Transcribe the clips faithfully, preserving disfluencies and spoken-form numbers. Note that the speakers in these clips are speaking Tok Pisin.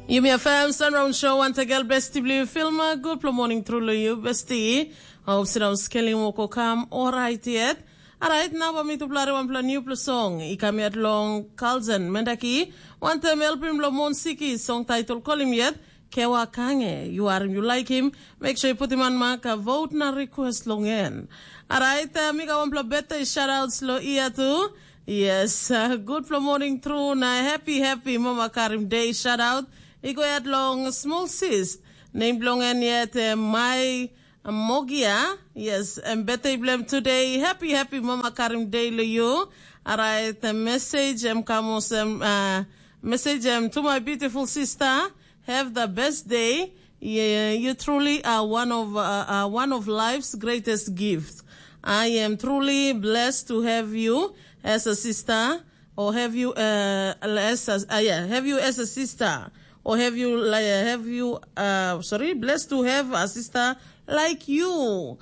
Yumi F M Sunround Show, wantagal besti bilong yu Filma. Gutpela morning tru long yu, besti. Hope sindaun skelim wok o kam orait yet. Alright, nau bai mitupela wanpela newpela song i kam yet long Kalzen Mendaki, wantaim helpim long Monsiki, song title kolim yet Kewa Kange. Yu harim, yu laikim, make sure yu putim an mak, vote na request long en. Alright, uh, mi gat wanpela birthday shoutouts lo ia tu. Yes, uh, gutpela morning tru na happy happy mama karim day shoutout. I go yet long small sis. Name bilong en yet uh, my Mogia. Yes, and birthday blem today. Happy happy mama karim day lo you. Alright, the message em kamos em uh, message em to my beautiful sister. Have the best day. Yeah, you truly are one of uh, uh, one of life's greatest gifts. I am truly blessed to have you as a sister, or have you uh, as a, uh, yeah, have you as a sister, or have you like have you uh, sorry, blessed to have a sister like you.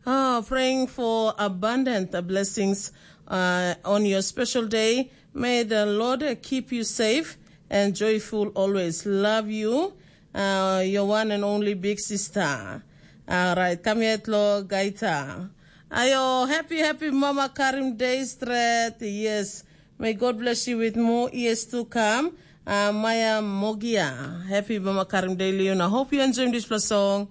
Oh, praying for abundant uh, blessings uh, on your special day. May the Lord uh, keep you safe and joyful always. Love you, uh, your one and only big sister. Alright, come yet lo gaita. Ayo, happy happy mama karim day stret. Yes, may God bless you with more years to come. Uh, Maya Mogia, happy mama karim day Leon. I hope you enjoy this song.